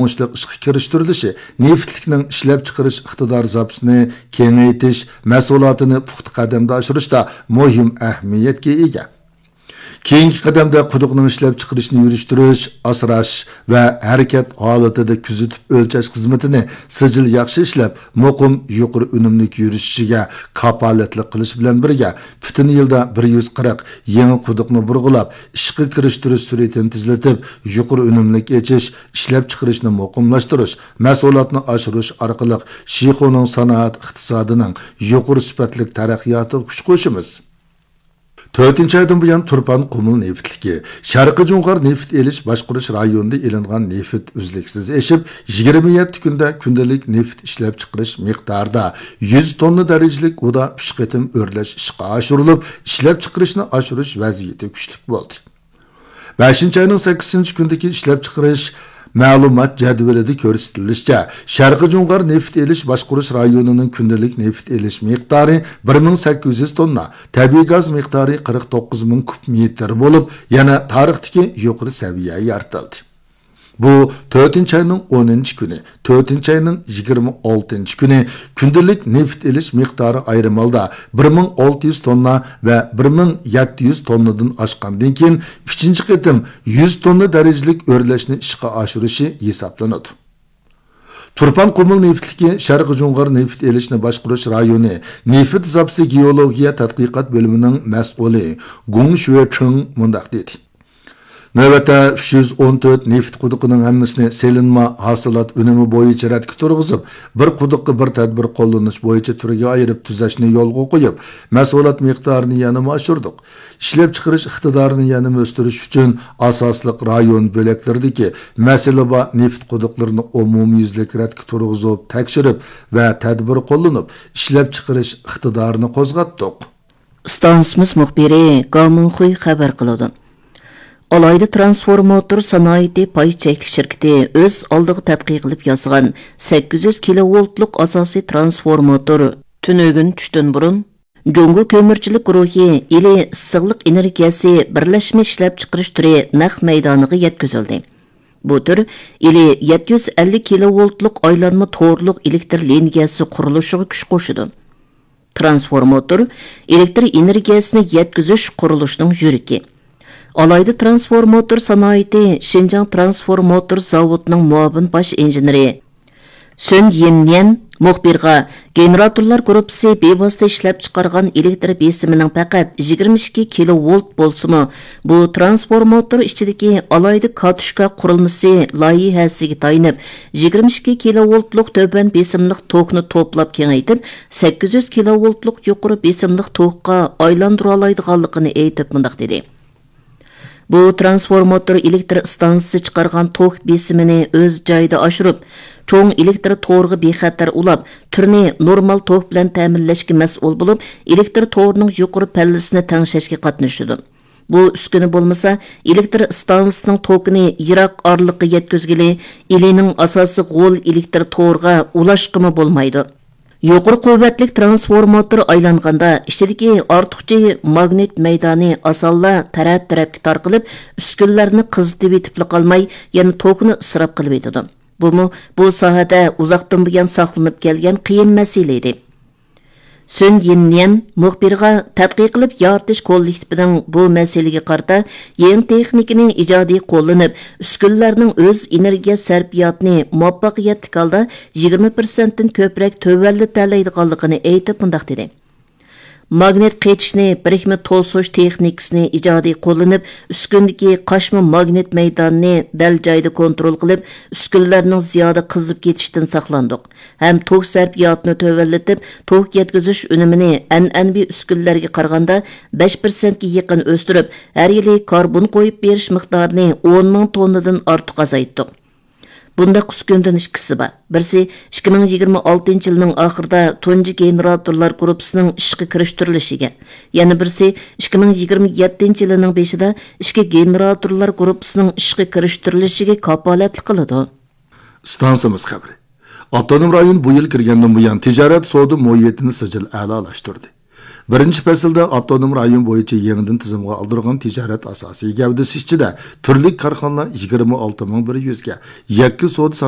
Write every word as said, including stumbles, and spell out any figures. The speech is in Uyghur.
ئىشقا كىرىشتۈرۈلۈشى نېفىتلىكنىڭ ئىشلەپچىقىرىش ئىقتىدار زاپىسىنى كېڭەيتىش، مەھسۇلاتىنى پۇختا قەدەمدە ئاشۇرۇشتا مۇھىم ئەھمىيەتكە ئىگە. كېيىنكى قەدەمدە قۇدۇقنىڭ ئىشلەپچىقىرىشنى يۈرۈشتۈرۈش، ئاسراش ۋە ھەرىكەت ھالىتىدە كۆزىتىپ ئۆلچەش خىزمىتىنى سىجىل ياخشى ئىشلەپ، مۇقىم، يۇقىرى ئۈنۈملۈك يۈرۈشۈشىگە كاپالەتلىك قىلىش بىلەن بىرگە، پۈتۈن يىلدا بىر يۈز قىرىق يېڭى قۇدۇقنى بۇرغىلاپ، ئىشقا كىرىشتۈرۈش سۈرئىتىنى تېزلىتىپ، يۇقىرى ئۈنۈملۈك ئېچىش، ئىشلەپچىقىرىشنى مۇقىملاشتۇرۇش، مەھسۇلاتنى ئاشۇرۇش ئارقىلىق شىخۇنىڭ سانائەت ئىقتىسادىنىڭ يۇقىرى سۈپەتلىك تەرەققىياتىغا كۈچ قوشىمىز. تۆتىنچى ئايدىن بۇيان، تۇرپان قۇمۇل نېفىتلىكى شەرقىي جۇڭغار نېفىت ئېلىش باشقۇرۇش رايونىدا ئېلىنغان نېفىت ئۈزلۈكسىز ئېشىپ، يىگىرمە يەتتە كۈندە كۈندىلىك نېفىت ئىشلەپچىقىرىش مىقدارىدا يۈز توننا دەرىجىلىك ئۇدا ئۈچ قېتىم ئۆرلەش ئىشقا ئاشۇرۇلۇپ، ئىشلەپچىقىرىشنى ئاشۇرۇش ۋەزىيىتى كۈچلۈك بولدى. بەشىنچى ئاينىڭ سەككىزىنچى كۈنىدىكى ئىشلەپچىقىرىش مەلۇمات جەدۋىلىدە كۆرسىتىلىشىچە، شەرقىي جۇڭغار نېفىت ئېلىش باشقۇرۇش رايونىنىڭ كۈندىلىك نېفىت ئېلىش مىقدارى بىر مىڭ سەككىز يۈز توننا، تەبىئىي گاز مىقدارى قىرىق توققۇز مىڭ كۇب مېتىر بولۇپ، يەنە تارىختىكى يۇقىرى سەۋىيە يارىتىلدى. بۇ تۆتىنچى ئاينىڭ ئونىنچى كۈنى، تۆتىنچى ئاينىڭ يىگىرمە ئالتىنچى كۈنى كۈندىلىك نېفىت ئېلىش مىقدارى ئايرىم ھالدا بىر مىڭ ئالتە يۈز توننا ۋە بىر مىڭ يەتتە يۈز توننىدىن ئاشقاندىن كېيىن، ئۈچىنچى قېتىم يۈز توننا دەرىجىلىك ئۆرلەشنى ئىشقا ئاشۇرۇشى ھېسابلىنىدۇ. تۇرپان قۇمۇل نېفىتلىكى شەرقىي جۇڭغار نېفىت ئېلىشنى باشقۇرۇش رايونى نېفىت زاپىسى گېئولوگىيە تەتقىقات بۆلۈمىنىڭ مەسئۇلى گۇڭ شۈەچىڭ مۇنداق دېدى. نۆۋەتتە ئۈچ يۈز ئون تۆت نېفىت قۇدۇقىنىڭ ھەممىسىنى سېلىنما ھاسىلات ئۈنۈمى بويىچە رەتكە تۇرغۇزۇپ، بىر قۇدۇققا بىر تەدبىر قوللىنىش بويىچە تۈرگە ئايرىپ تۈزەشنى يولغا قويۇپ، مەھسۇلات مىقدارىنى يەنىمۇ ئاشۇردۇق. ئىشلەپچىقىرىش ئىقتىدارىنى يەنىمۇ ئۆستۈرۈش ئۈچۈن ئاساسلىق رايون بۆلەكلىرىدىكى مەسىلە بار نېفىت قۇدۇقلىرىنى ئومۇميۈزلۈك رەتكە تۇرغۇزۇپ، تەكشۈرۈپ ۋە تەدبىر قوللىنىپ، ئىشلەپچىقىرىش ئىقتىدارىنى قوزغاتتۇق. ئىستانسىمىز مۇخبىرى گاۋ مىڭخۇي خەۋەر قىلىدۇ. ئالاھىدە ترانسفورماتور سانائىتى پاي چەكلىك شىركىتى ئۆز ئالدىغا تەتقىق قىلىپ ياسىغان سەككىز يۈز كىلوۋولتلۇق ئاساسىي ترانسفورماتور تۈنۈگۈن چۈشتىن بۇرۇن جۇڭگو كۆمۈرچىلىك گۇرۇھى ئىلى ئىسسىقلىق ئېنېرگىيەسى بىرلەشمە ئىشلەپچىقىرىش تۈرى نەق مەيدانىغا يەتكۈزۈلدى. بۇ تۈر ئىلى يەتتە يۈز ئەللىك كىلوۋولتلۇق ئايلانما تورلۇق ئېلېكتر لىنىيەسى قۇرۇلۇشىغا كۈچ قوشىدۇ. ترانسفورماتور ئېلېكتر ئېنېرگىيەسىنى يەتكۈزۈش قۇرۇلۇشىنىڭ يۈرىكى. ئالاھىدە ترانسفورماتور سانائىتى شىنجاڭ ترانسفورماتور زاۋۇتىنىڭ مۇئاۋىن باش ئىنژېنېرى سۈن يىننيەن مۇخبىرغا، گېنېراتورلار گۇرۇپپىسى بىۋاسىتە ئىشلەپچىقارغان ئېلېكتر بېسىمىنىڭ پەقەت يىگىرمە ئىككى كىلوۋولت بولسىمۇ، بۇ ترانسفورماتور ئىچىدىكى ئالاھىدە كاتۇشكا قۇرۇلمىسى لايىھەسىگە تايىنىپ، يىگىرمە ئىككى كىلوۋولتلۇق تۆۋەن بېسىملىق توكنى توپلاپ كېڭەيتىپ، سەككىز يۈز كىلوۋولتلۇق يۇقىرى بېسىملىق توكقا ئايلاندۇرالايدىغانلىقىنى ئېيتىپ مۇنداق دېدى. بۇ ترانسفورماتور ئېلېكتر ئىستانسىسى چىقارغان توك بېسىمىنى ئۆز جايىدا ئاشۇرۇپ، چوڭ ئېلېكتر تورىغا بىخەتەر ئۇلاپ، تۈرنى نورمال توك بىلەن تەمىنلەشكە مەسئۇل بولۇپ، ئېلېكتر تورىنىڭ يۇقىرى پەللىسىنى تەڭشەشكە قاتنىشىدۇ. بۇ ئۈسكۈنە بولمىسا، ئېلېكتر ئىستانسىسىنىڭ توكىنى يىراق ئارىلىققا يەتكۈزگىلى، ئىلىنىڭ ئاساسىي غول ئېلېكتر تورىغا ئۇلاشقىمۇ بولمايدۇ. يۇقىرى قۇۋۋەتلىك ترانسفورماتور ئايلانغاندا، ئىچىدىكى ئارتۇقچە ماگنىت مەيدانى ئاسانلا تەرەپ-تەرەپكە تارقىلىپ، ئۈسكۈنىلەرنى قىزىتىۋېتىپلا قالماي، يەنە توكنى ئىسراپ قىلىۋېتىدۇ. بۇمۇ بۇ ساھەدە ئۇزاقتىن بۇيان ساقلىنىپ كەلگەن قىيىن مەسىلە ئىدى. سۈن يىننيەن مۇخبىرغا، تەتقىق قىلىپ يارىتىش كوللېكتىپىنىڭ بۇ مەسىلىگە قارىتا يېڭى تېخنىكىنى ئىجادىي قوللىنىپ، ئۈسكۈنىلەرنىڭ ئۆز ئېنېرگىيە سەرپىياتىنى مۇۋەپپەقىيەتلىك ھالدا يىگىرمە پىرسەنتتىن كۆپرەك تۆۋەنلىتەلەيدىغانلىقىنى ئېيتىپ مۇنداق دېدى. ماگنىت قېچىشنى، بىرىكمە توسۇش تېخنىكىسىنى ئىجادىي قوللىنىپ، ئۈسكۈنىدىكى قاچما ماگنىت مەيدانىنى دەل جايىدا كونترول قىلىپ، ئۈسكۈنىلەرنىڭ زىيادە قىزىپ كېتىشىدىن ساقلاندۇق ھەم توك سەرپىياتىنى تۆۋەنلىتىپ، توك يەتكۈزۈش ئۈنۈمىنى ئەنئەنىۋى ئۈسكۈنىلەرگە قارىغاندا بەش پىرسەنتكە يېقىن ئۆستۈرۈپ، ھەر يىلى كاربون قويۇپ بېرىش مىقدارىنى ئون مىڭ توننىدىن ئارتۇق ئازايتتۇق. بۇنداق ئۈسكۈنىدىن ئىككىسى بار. بىرسى ئىككى مىڭ يىگىرمە ئالتىنچى يىلنىڭ ئاخىرىدا تۇنجى گېنېراتورلار گۇرۇپپىسىنىڭ ئىشقا كىرىشتۈرۈلۈشىگە، يەنە بىرسى ئىككى مىڭ يىگىرمە يەتتىنچى يىلىنىڭ بېشىدا ئىككى گېنېراتورلار گۇرۇپپىسىنىڭ ئىشقا كىرىشتۈرۈلۈشىگە كاپالەتلىك قىلىدۇ. ئىستانسىمىز خەۋىرى. ئاپتونوم رايون بۇ يىل كىرگەندىن بۇيان، تىجارەت سودا مۇھىتىنى سىجىل ئەلالاشتۇردى. بىرىنچى پەسىلدە ئاپتونوم رايون بويىچە يېڭىدىن تىزىمغا ئالدۇرغان تىجارەت ئاساسىي گەۋدىسى ئىچىدە تۈرلۈك كارخانىلار يىگىرمە ئالتە مىڭ بىر يۈزگە، يەككە سودا سانائەت